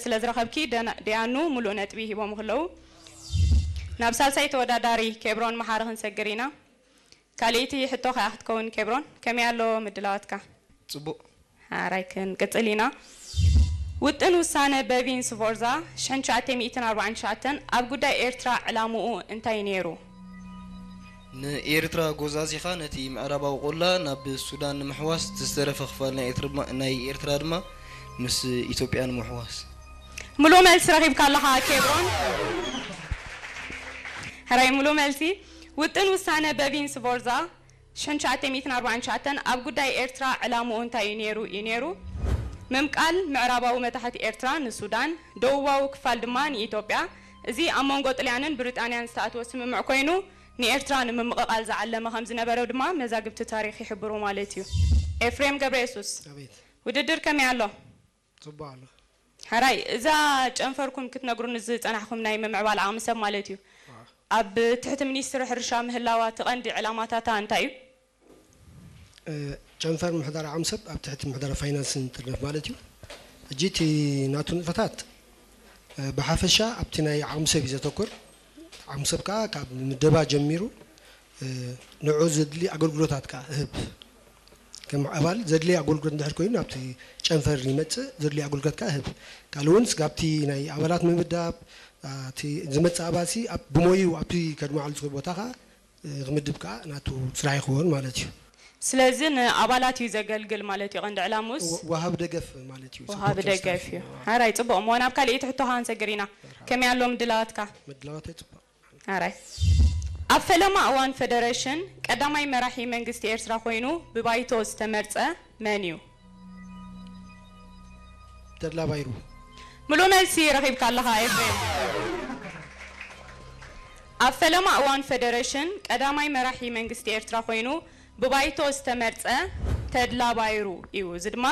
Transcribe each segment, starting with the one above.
ስለ ዝረኸብኪ ደና- ደያኑ ሙሉእ ነጥቢ ሂቦም ከለዉ፣ ናብ ሳልሳይ ተወዳዳሪ ኬብሮን መሓሪ ክንሰግር ኢና። ካልኣይቲ ሕቶ ከኣ ክትከውን። ኬብሮን፣ ከመይ ኣሎ ምድላዋትካ? ጽቡቕ። ሓራይ ክንቅጽል ኢና። ውጥን ውሳነ በቪን ስፎርዛ ሽሕን ትሽዓተ ሚእትን ኣርባዓን ትሽዓተን ኣብ ጉዳይ ኤርትራ ዕላምኡ እንታይ ነይሩ? ንኤርትራ ጎዛዚኻ ነቲ ምዕራባዊ ቆላ ናብ ሱዳን ንምሕዋስ፣ እቲ ዝተረፈ ክፋል ናይ ኤርትራ ድማ- ናይ ኤርትራ ድማ ምስ ኢትዮጵያ ንምሕዋስ። ሙሉእ መልሲ ረኺብካ ኣለኻ ኬብሮን። ሕራይ ሙሉእ መልሲ። ውጥን ውሳነ በቪን ስፎርዛ ሽሕን ትሽዓተ ሚእትን ኣርባዓን ትሽዓተን ኣብ ጉዳይ ኤርትራ ዕላምኡ እንታይ እዩ ነይሩ እዩ ነይሩ? ምምቃል ምዕራባዊ መታሕት ኤርትራ ንሱዳን፣ ደቡባዊ ክፋል ድማ ንኢትዮጵያ። እዚ ኣብ መንጎ ጥልያንን ብሪጣንያን ዝተኣትወ ስምምዕ ኮይኑ ንኤርትራ ንምምቕቓል ዝዓለመ ከም ዝነበረ ድማ መዛግብቲ ታሪኽ ይሕብሩ ማለት እዩ። ኤፍሬም ገብረየሱስ፣ ኣቤት። ውድድር ከመይ ኣሎ? ጽቡቕ ኣሎ። ሕራይ፣ እዛ ጨንፈርኩም ክትነግሩኒ ዝጸናሕኩም ናይ ምምዕባል ዓቕሚ ሰብ ማለት እዩ። ኣብ ትሕቲ ሚኒስትሪ ሕርሻ ምህላዋ እቲ ቀንዲ ዕላማታታ እንታይ እዩ? እ፣ ጨንፈር ምሕደራ ዓቕሚ ሰብ ኣብ ትሕቲ ምሕደራ ፋይናንስን ትርነፍ ማለት እዩ። ሕጂ እቲ ናቱ ንጥፈታት፣ እ፣ ብሓፈሻ ኣብቲ ናይ ዓቕሚ ሰብ እዩ ዘተኩር። ዓቕሚ ሰብ ከኣ ካብ ምደባ ጀሚሩ፣ እ፣ ንዑ ዘድሊ ኣገልግሎታት ከኣ እህብ። ከም ኣባል ዘድሊ ኣገልግሎት እንድሕር ኮይኑ ናብቲ ጨንፈር ይመጽእ፣ ዘድሊ ኣገልግሎት ከኣ እህብ። ካልእ እውን ስጋብቲ ናይ ኣባላት ምምዳብ፣ ኣ፣ እቲ ዝመጽእ ኣባልሲ ኣብ ብሞይኡ ኣብቲ ከድመዓሉ ዝኽእል ቦታ ከኣ፣ እ፣ ክምድብ ከኣ ናቱ ስራሕ ይኸውን ማለት እዩ። ስለዚ ንኣባላት እዩ ዘገልግል ማለት እዩ ቀንዲ ዕላሙስ? ወ- ወሃቢ ደገፍ ማለት እዩ። ወሃቢ Supporter ደገፍ staff እዩ። ሓራይ ጽቡቕ እሞ ናብ ካልኣይቲ ሕቶኻ ክንሰግር ኢና። ከመይ ኣሎ ምድላዋትካ? ምድላዋት ጽቡቕ። ሓራይ ኣብ ፈለማ እዋን ፈደረሽን ቀዳማይ መራሒ መንግስቲ ኤርትራ ኮይኑ ብባይቶ ዝተመርጸ መን እዩ? ተድላ ባይሩ። ሙሉእ መልሲ ረኺብካ ኣለኻ ኤፍሬም። ኣብ ፈለማ እዋን ፈደረሽን ቀዳማይ መራሒ መንግስቲ ኤርትራ ኮይኑ ብባይቶ ዝተመርጸ ተድላ ባይሩ እዩ። እዚ ድማ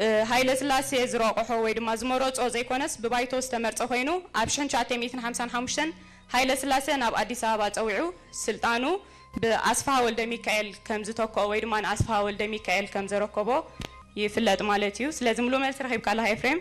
እ፣ ሃይለ ስላሴ ዝረቆሖ ወይ ድማ ዝመረጾ ዘይኮነስ ብባይቶ ዝተመርጸ ኮይኑ ኣብ ሽሕን ትሽዓተ ሚእትን ሓምሳን ሓሙሽተን ሃይለ ስላሴ ናብ ኣዲስ ኣበባ ጸዊዑ ስልጣኑ ብኣስፍሃ ወልደ ሚካኤል ከም ዝተክኦ ወይ ድማ ንኣስፍሃ ወልደ ሚካኤል ከም ዘረከቦ ይፍለጥ ማለት እዩ። ስለዚ ሙሉእ መልሲ ረኺብካ ኣለኻ ኤፍሬም።